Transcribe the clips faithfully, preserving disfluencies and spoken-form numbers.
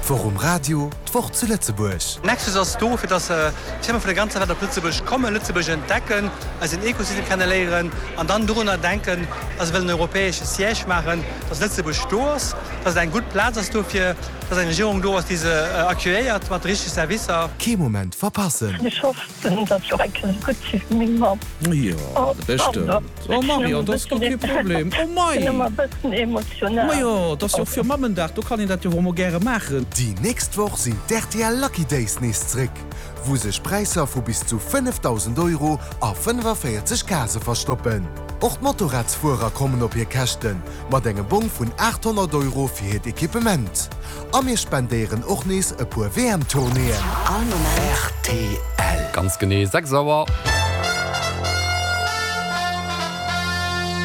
D'Woch um Radio, d'Woch zu Lëtzebuerg. Nexus ass do, fir dass Firme vun der ganzer Welt op Lëtzebuerg kommen, Lëtzebuerg entdecken, eisen Ekosystem kenneléieren an dann dorunner denken, dass se wëllen en europäesche Siège maachen, dass Lëtzebuerg do ass, dass et eng gutt Plaz ass dofir, dass eng Regierung do ass, déi se accueilléiert mat de richtege Servicer. Kee Moment verpassen! Ech hoffen, datt ech och eng Kéier esou gutt si wéi meng Mamm. Jo, bestëmmt. Oh Marion, dat ass guer kee Problem. Oh mei! Sinn ëmmer e bëssen emotional. Majo, dat ass jo och fir Mammendag, do kann een dat jo och emol gäre maachen. Déi nächst Woch sinn d'R T L Lucky Days nees zréck, wou sech Präisser vu bis zu fënnefdausend Euro a fënnefavéierzeg Case verstoppen. Och d'Motorradsfuerer kommen op hir Käschten, mat engem Bong vun aathonnert Euro fir hiert Equipement. A mir spendéieren och nees e puer W M-Tournéeën. All Moment. R T L. Ganz genee sechs Auer.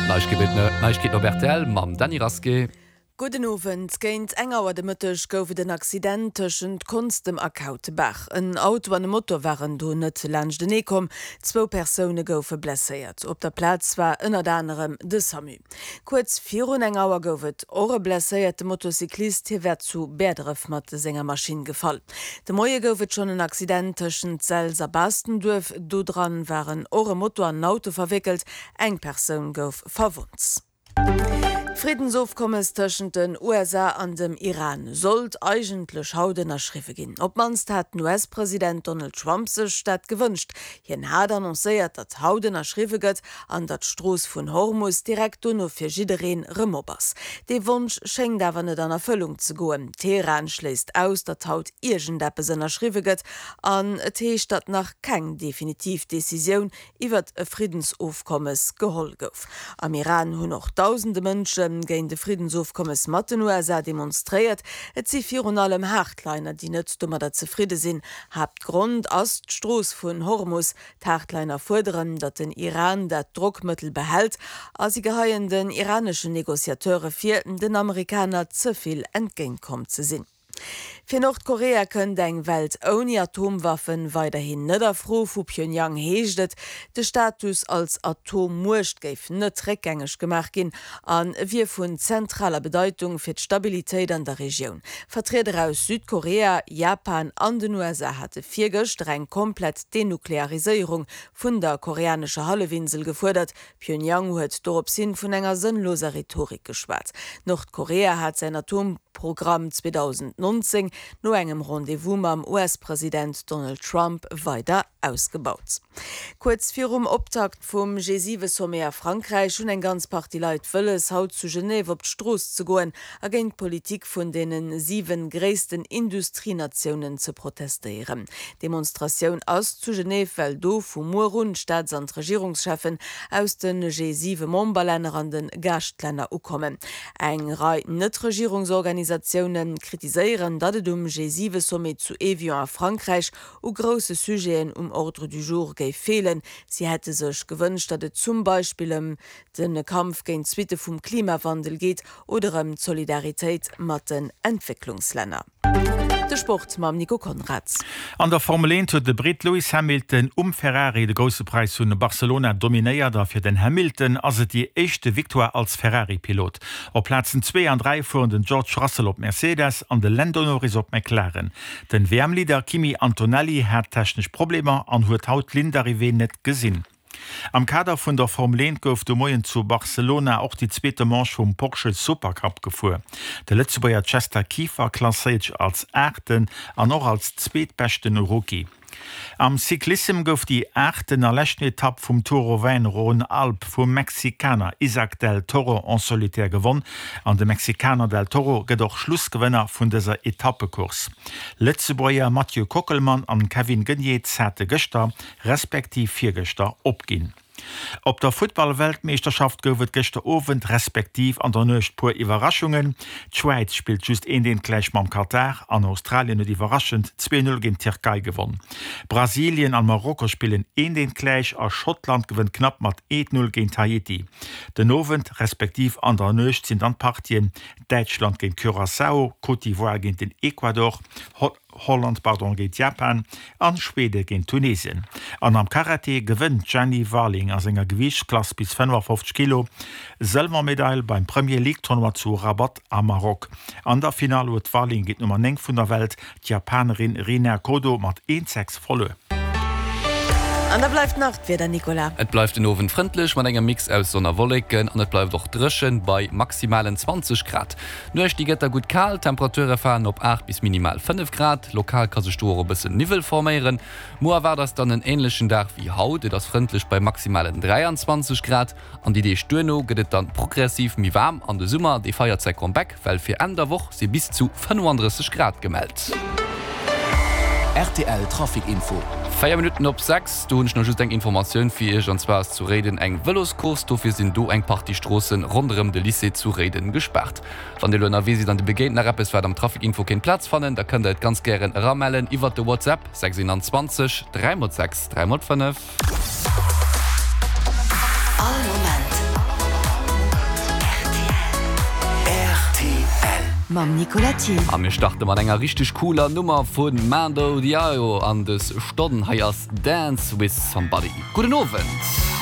Neiegkeeten op R T L mam Dany Rasqué. Gudden Owend. Géint eng Auer de Mëtteg gouf et en Accident tëschent Konstem a Kautebaach. En Auto an e Moto waren do net laanschtenee komm. Zwou Persoune goufe blesséiert. Op der Plaz war ënnert anerem de SAMU. Kuerz virun eng Auer gouf et och e blesséierte Motocyclist, hie war zu Bäerdref mat senger Maschinn gefall. De Moie gouf et schonn en Accident tëschent Selz a Baastenduerf. Do dran waren och e Moto an en Auto verwéckelt. Eng Persoun gouf verwonnt. D'Friddensofkommes tëschent den U S A an dem Iran sollt eigentlech haut ënnerschriwwe ginn. Op d'mannst hat den U S-President Donald Trump sech dat gewënscht. Hien hat annoncéiert, datt haut ënnerschriwwe gëtt an datt d'Strooss vun Hormus direkt dono fir jiddereen rëm op ass. Dee Wonsch schéngt awer net an Erfëllung ze goen. Teheran schléisst aus, datt haut iergendeppes ënnerschriwwe gëtt an et heescht, datt nach keng definitiv Decisioun iwwert e Friddensofkommes geholl gouf. Am Iran hunn och dausende Mënsche géint de Friddensofkommes mat den U S A demonstréiert. Et si virun allem Hardliner, déi net domadder zefridde sinn. Haaptgrond ass d'Strooss vun Hormus. D'Hardliner fuerderen, datt den Iran dat Drockmëttel behält a si geheien den iraneschen Negociateure vir, den Amerikaner ze vill entgéintkomm ze sinn. Fir Nordkorea kënnt eng Welt ouni Atomwaffen weiderhin net a Fro. Vu Pyongyang heescht et, de Status als Atommuecht géif net réckgängeg gemaach ginn a wier vun zentraler Bedeitung fir d'Stabilitéit an der Regioun. Vertrieder aus Südkorea, Japan an den U S A hate virgëschter eng komplett Denukleariséierung vun der koreanescher Hallefinsel gefuerdert. Pyongyang huet dorops hin vun enger sënnloser Rhetorik geschwat. Nordkorea hat säin Atomprogramm zweedausendnonzéng no engem Rendez-vous mam U S-President Donald Trump weider ausgebaut. Kuerz virum Optakt vum G siwe Sommet a Frankräich hunn eng ganz Partie Leit wëlles, haut zu Genève op d'Strooss ze goen a géint d'Politik vun deene siwe gréissten Industrienatiounen ze protestéieren. Demonstratioun ass zu Genève, well do vu muer un Staats an Regierungscheffen aus de G siwe Memberlänner an de Gaaschtlänner ukommen. Eng Rei Netregierungsorganisatioune kritiséieren, datt et um G siwe Sommet zu Evian a Frankräich u grousse Sujeten um Ordre du jour géif feelen. Si hätte sech gewënscht, datt et zum Beispill ëm de Kampf géint d'Suitte vum Klimawandel geet oder ëm d'Solidaritéit mat den Entwécklungslänner. De Sport mam Nico Konrads. An der Formel eent huet de Britt Lewis Hamilton um Ferrari de Grousse Präis vun Barcelona dominéiert a fir den Hamilton ass et déi éischte Victoire als Ferrari-Pilot. Op Plazen zwee an dräi fueren den George Russell op Mercedes an de Lando Norris op McLaren. Den W M-Leader Kimi Antonelli hat technesch Problemer an huet haut d'Ligne d'arrivée net gesinn. Am Kader vun der Formel eent gouf de Moien zu Barcelona och déi zweete Manche vum Porsche Supercup gefuer. De Lëtzebuerger Chester Kieffer klasséiert sech als Aachten an och als zweetbeschten Rookie. Am Cyclissem gouf déi aachten a leschten Etapp vum Tour Auvergne-Rhône-Alpes vum Mexikaner Isaac del Toro en solitaire gewonn an de Mexikaner del Toro gëtt och Schlussgewënner vun dëser Etappecourse. Lëtzebuerger Mathieu Kockelmann an Kevin Geniets hate gëschter respektiv virgëschter opginn. Op der Futtballweltmeeschterschaft gouf et gëschter Owend respektiv an der Nuecht puer Iwwerraschungen. D'Schwäiz spillt just eent eent gläich mam Katar an Australien huet iwwerraschend zwee null géint d'Tierkei gewonn. Brasilien an Marokko spillen eent eent gläich a Schottland gewënnt knapp mat eent null géint Haiti. Den Owend respektiv an der Nuecht sinn dann d'Partien Däitschland géint Curaçao, Côte d'Ivoire géint den Ecuador, Holland pardon, géint Japan an Schwede géint Tunesien. An am Karate gewënnt d'Jenny Warling a senger Gewiichtsklass bis fënnefafofzeg Kilo Sëlwermedail beim Premier League Tournoi zu Rabat am Maroc. An der Finall huet d'Warling géint d'Nummer néng vun der Welt, d'Japanerin Rina Kodo mat eent, sechs verluer. An da bleift nach d'Wieder, Nicolas. Et bleift den Owend frëndlech mat engem Mix aus Sonn a Wolleken an et bleift och dréchen bei maximalen zwanzeg Grad. D'Nuecht déi gëtt da gutt kal, d'Temperature falen op aacht bis minimal fënnef Grad. Lokal ka sech do och e bëssen Niwwel forméieren. Muer erwaart eis dann en änlechen Dag wéi haut, et ass frëndlech bei maximalen dräianzwanzeg Grad. An déi Deeg duerno gëtt et dann progressiv méi waarm an de Summer dee feiert säi Comeback, well fir Enn der Woch si bis zu fënnefandrësseg Grad gemellt. Rtl Trafic Info. Véier Minutten op sechs, do hunn ech nach just eng Informatioun fir Iech, an zwar ass zu Réiden eng Vëloscourse, dofir sinn do eng Partie Stroosse ronderëm de Lycée zu Réiden gespaart. Wann Dir elo ënnerwee sidd an Dir begéint nach eppes wat am Trafic Info kéint Plaz fannen, da kënnt der et ganz gären eramellen iwwert de WhatsApp sechs eenanzwanzeg dräi mol sechs dräi mol fënnef. All Moment rtl. Mam Nicolas Thiel. A mir starte mat enger richteg cooler Nummer vu Mando Diao an dës Stonn. Hei ass Dance With Somebody. Gudden Owend.